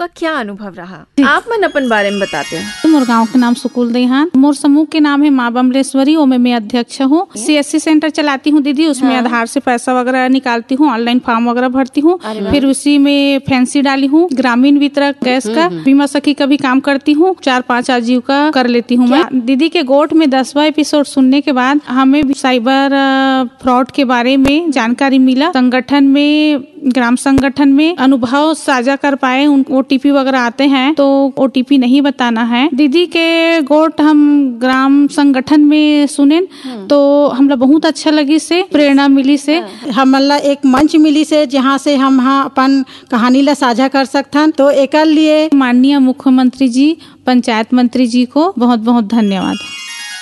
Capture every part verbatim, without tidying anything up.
क्या अनुभव रहा? आप मन अपन बारे में बताते हैं। मोर गांव के नाम सुकुल देहान, मोर समूह के नाम है माँ बमलेश्वरी, ओमे मैं अध्यक्ष हूँ। सीएससी सेंटर चलाती हूँ दीदी, उसमें हाँ। आधार से पैसा वगैरह निकालती हूँ, ऑनलाइन फॉर्म वगैरह भरती हूँ, अरे वाह। फिर उसी में फैंसी डाली हूँ, ग्रामीण वितरक गैस का, हम्म, हम्म। बीमा सखी का भी काम करती हूँ, चार पांच आजीविका कर लेती हूँ मैं। क्या? दीदी के गोठ में दसवां एपिसोड सुनने के बाद हमें भी साइबर, अ, फ्रॉड के बारे में जानकारी मिला। संगठन में, ग्राम संगठन में अनुभव साझा कर पाए, उन ओटीपी वगैरह आते हैं तो ओटीपी नहीं बताना है। दीदी के गोठ हम ग्राम संगठन में सुनेन तो हमला बहुत अच्छा लगी से, प्रेरणा मिली से। हमन ला एक मंच मिली से, जहाँ से हम हा अपन कहानी ला साझा कर सकथन। तो एकर लिए माननीय मुख्यमंत्री जी, पंचायत मंत्री जी को बहुत बहुत धन्यवाद।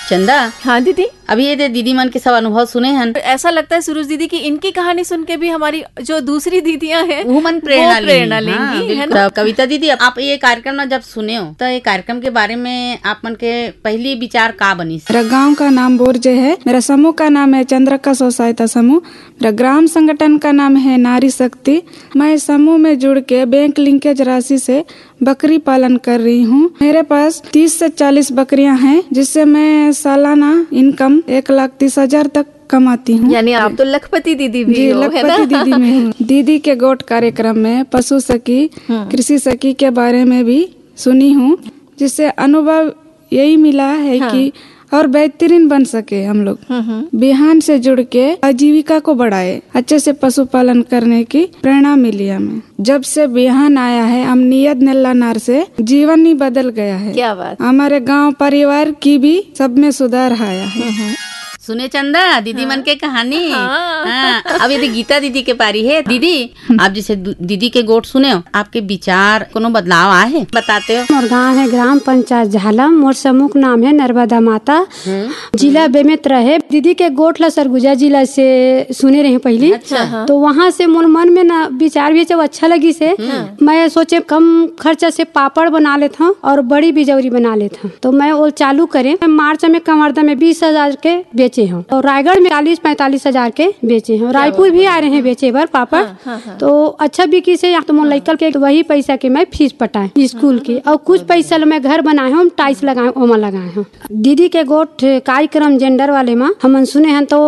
चंदा, हाँ दीदी। अब ये दे दीदी मन के सब अनुभव सुने हन। ऐसा लगता है सुरुज दीदी कि इनकी कहानी सुन के भी हमारी जो दूसरी दीदियां हैं, वो मन प्रेरणा वो प्रेरणा लेंगी, लेंगी, हाँ, है बिल्कुल। ना? तब कविता दीदी, अब आप ये कार्यक्रम ना जब सुने हो, तो ये कार्यक्रम के बारे में आप मन के पहली विचार का बनिस? मेरा गांव का नाम बोरजे है। मेरा समूह का नाम है चंद्रका स्व सहायता समूह। मेरा ग्राम संगठन का नाम है नारी शक्ति। मैं समूह में जुड़ के बैंक लिंकेज राशि से बकरी पालन कर रही हूँ। मेरे पास तीस से चालीस बकरियां हैं, जिससे मैं सालाना इनकम एक लाख तीस हजार तक कमाती हूँ। यानी आप तो लखपति दीदी भी जी, हो, है ना? लखपति दीदी में हूँ। दीदी के गोठ कार्यक्रम में पशु सखी, हम्म। कृषि सखी के बारे में भी सुनी हूँ, जिससे अनुभव यही मिला है हाँ। कि और बेहतरीन बन सके हम लोग। हम्म, हम्म। बिहान से जुड़ के आजीविका को बढ़ाए, अच्छे से पशुपालन करने की प्रेरणा मिली हमें। जब से बिहान आया है, हम नियत नेल्ला नार से जीवन ही बदल गया है। क्या बात। हमारे गांव परिवार की भी सब में सुधार आया है। हम्म, हम्म। सुने चंदा, दीदी हाँ। मन के कहानी। हाँ। हाँ, अब यदि गीता दीदी के पारी है, दीदी, आप जैसे दु-, दीदी के गोठ सुने हो, आपके विचार कोनो बदलाव आए हे? बताते हो। मोर गांव है ग्राम पंचायत झालम, मोर समूह के नाम है नर्मदा माता, हम्म। जिला बेमेतरा है। दीदी के गोठ ला सरगुजा जिला से सुने रहे पहली, अच्छा। हाँ। तो वहाँ से मोर मन में ना विचार भी जब अच्छा लगी से, हम्म। मैं सोचे कम खर्चा से पापड़ बना लेता हूँ और बड़ी बिजौरी बना लेता हूँ। तो मैं वो चालू करे, मैं मार्च में कवर्धा में बीस हजार के बेचे हूँ और रायगढ़ में चालीस पैंतालीस हजार के बेचे हूँ। क्या रायपुर बात भी है। आ रहे हैं बेचे बर पापड़। हाँ, हाँ, हाँ। तो अच्छा बिकी से, या तो मोर हाँ। लइका के वही पैसा के मैं फीस पटाए स्कूल की, और कुछ पैसा ल मैं घर बनाए हूँ, टाइल्स लगाए हूँ, ओमा लगाए हूँ। दीदी के गोठ कार्यक्रम जेंडर वाले मा हमन सुने हन, तो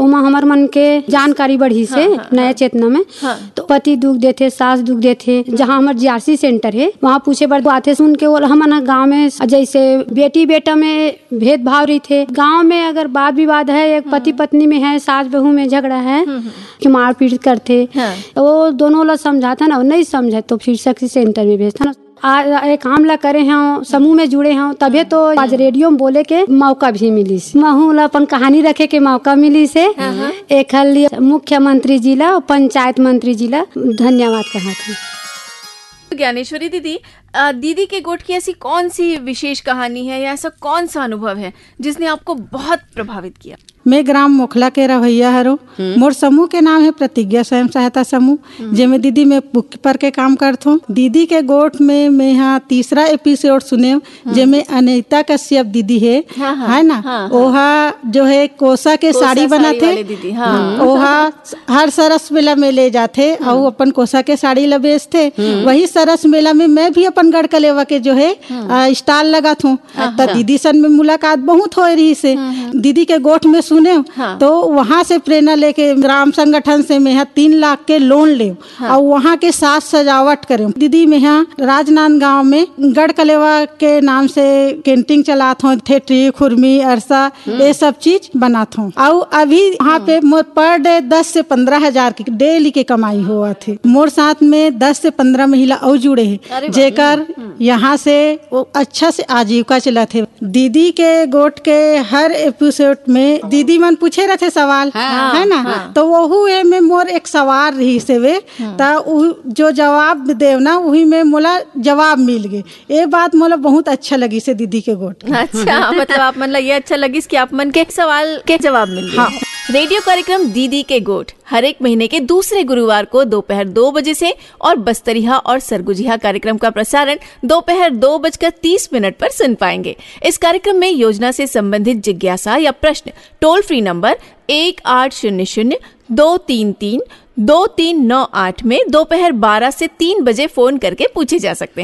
ओमा हमर मन के जानकारी बढ़ी से हाँ, हाँ, नया हाँ। चेतना में। हाँ। तो पति दुख देथे, सास दुख देथे, जहाँ हमर जीआरसी सेंटर है, वहाँ पूछे बर आथे। सुन के वो हमन ह गाँव में जैसे बेटी बेटा में भेदभाव रहिथे, गाँव में अगर वाद विवाद है, एक हम्म। पति पत्नी में है, सास बहू में झगड़ा है, हम्म, हम्म। कि मारपीट करथे, हाँ। तो वो दोनों ला समझाथन, और नहीं समझे तो फिर सखी सेंटर में भेजथन। आ, ये काम ला करे हंव, समूह में जुड़े हंव, तबे तो आज रेडियो में बोले के मौका भी मिलिस। महू ला अपन कहानी रखे के मौका मिलिस हे। हाँ, हाँ। एखर लिए मुख्यमंत्री जी ला, पंचायत मंत्री जी ला धन्यवाद कहत हंव। ज्ञानेश्वरी दीदी, अ, दीदी के गोठ की ऐसी कौन सी विशेष कहानी है या ऐसा कौन सा अनुभव है जिसने आपको बहुत प्रभावित किया? मैं ग्राम मोखला के रहवइया हरों। हम्म। मोर समूह के नाम है प्रतिज्ञा स्वयं सहायता समूह, हम्म। जेमे दीदी मैं बुककीपर के काम करथों। दीदी के गोठ में मैं हा तीसरा एपिसोड सुने, हम्म। जेमे अनिता कश्यप दीदी है, हाँ, हाँ, है ना? हाँ, हाँ। ओहा जो है कोसा के कोसा साड़ी साड़ी बनाथे। वाले दीदी, हाँ। हम्म। ओहा हर सरस मेला में ले जाथे, हम्म। अउ अपन कोसा के साड़ी ला बेचथे। हम्म। वही सरस मेला में मैं भी अपन गढ़ कलेवा के जो है, हम्म। अ, स्टॉल लगाथों। हाँ, त हाँ। दीदी सन में मुलाकात बहुत होए रहिस हे। हम्म, हम्म। दीदी के गोठ में सुने, हाँ। तो वहाँ से प्रेरणा लेके ग्राम संगठन से मैं हा तीन लाख के लोन लेव, हाँ। और वहाँ के साज सजावट करें। दीदी मैं हा राजनांदगांव में गढ़ कलेवा के नाम से कैंटीन चलात हों, ठेठरी, खुरमी, अरसा, हम्म। ये सब चीज बनात हों। और अभी वहाँ हम्म। पे मोर पर डे दस से पन्द्रह हजार की डेली के कमाई होवत हे। मोर साथ में दस से पन्द्रह महिला और जुड़े हैं, अरे वाह। जेकर हम्म। यहाँ से वो अच्छा से आजीविका चलत हे। दीदी के गोठ के हर एपिसोड में दीदी मन पूछे रहिथे सवाल, हाँ, है ना? हाँ। तो वहू ए में मोर एक सवाल रहिस हे, हम्म। त उ जो जवाब देव ना, वही में मोला जवाब मिल गे। ये बात मोला बहुत अच्छा लगिस हे दीदी के गोठ। अच्छा, मतलब आप मन ला ये अच्छा लगिस कि आप मन के सवाल के जवाब मिल गे। हाँ। रेडियो कार्यक्रम दीदी के गोठ हर एक महीने के दूसरे गुरुवार को दोपहर दो बजे से और बस्तरिहा और सरगुजिहा कार्यक्रम का प्रसारण दोपहर दो बजकर तीस मिनट पर सुन पाएंगे। इस कार्यक्रम में योजना से संबंधित जिज्ञासा या प्रश्न टोल फ्री नंबर एक आठ शून्य शून्य दो तीन तीन दो तीन नौ आठ में दोपहर बारह से तीन बजे फोन करके पूछे जा सकते हैं।